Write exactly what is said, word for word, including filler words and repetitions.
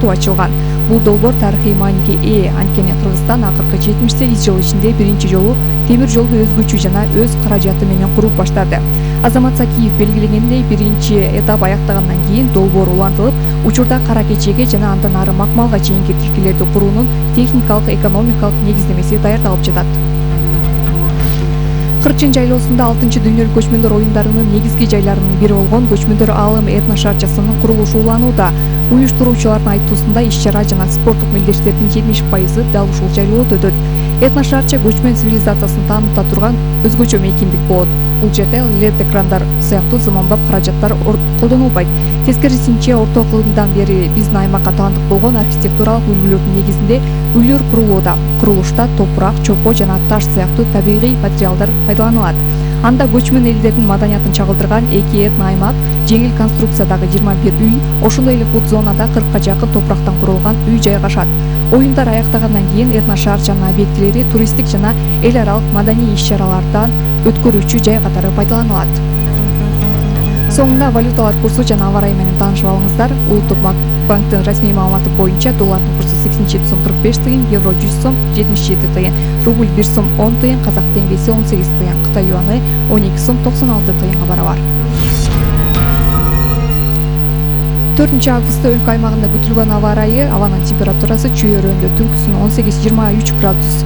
порту ачылган. Бул долбоор тарыхый мааниге ээ, анткени Кыргызстан акыркы жетимиш сегиз жыл ичинде биринчи жолу темир жолду өзгөчө жана өз каражаты менен куруп баштады. Азамат Сакиев белгилегендей, биринчи этап аяктагандан кийин долбоор улантылып, учурда кара кечеге жана андан ары макмалга чейинки тилкелерди куруунун техникалык, экономикалык негиздемеси даярдалып жатат. Кырчын жайлоосунда алтынчы дүйнөлүк көчмөндөр оюндарынын негизги жайларынын бири болгон Көчмөндөр аалым этно шаарчасынын курулушу уланууда. Уюштуруучулардын айтуусунда иш-чара жана спорттук мелдештердин жетимиш пайызы дал ушул жайлоодо өтөт. Этно шаарча көчмөн цивилизациясын тааныта турган өзгөчө мейкиндик болот. Бул жерде лед экрандар сыяктуу заманбап каражаттар колдонулбайт. Тескерисинче, орто акылымдан бери биздин аймакка таандык болгон архитектуралык үлгүлөрдүн негизинде үйлөр курулууда. Курулушта топурак, чопо жана таш сыяктуу табигый материалдар пайдаланылат. Анда көчмөн элдердин маданиятын чагылдырган эки этно аймак, жеңил конструкциядагы жыйырма бир үй, ошондой эле фуд зонада кыркка жакын топурактан курулган үй жайгашат. Оюндар аяктагандан кийин этно шаарчанын объектилери туристтик жана эл аралык маданий иш-чаралардан өткөрүүчү жай катары пайдаланылат. Соңунда валюталар курсу жана аба ырайы менен таанышып алыңыздар. Улуттук банктын расмий маалыматы боюнча доллардын курсу сексен жети сом кырк беш тыйын, евро жүз сом жетимиш жети тыйын, рубль бир сом он тыйын, казак теңгеси он сегиз тыйын, Кытай юаны он эки сом токсон алты тыйынга барабар. төртүнчү августта өлкө аймагында күтүлгөн аба ырайы: абанын температурасы чүй өрөөндө түнкүсүн он сегиз жыйырма үч градус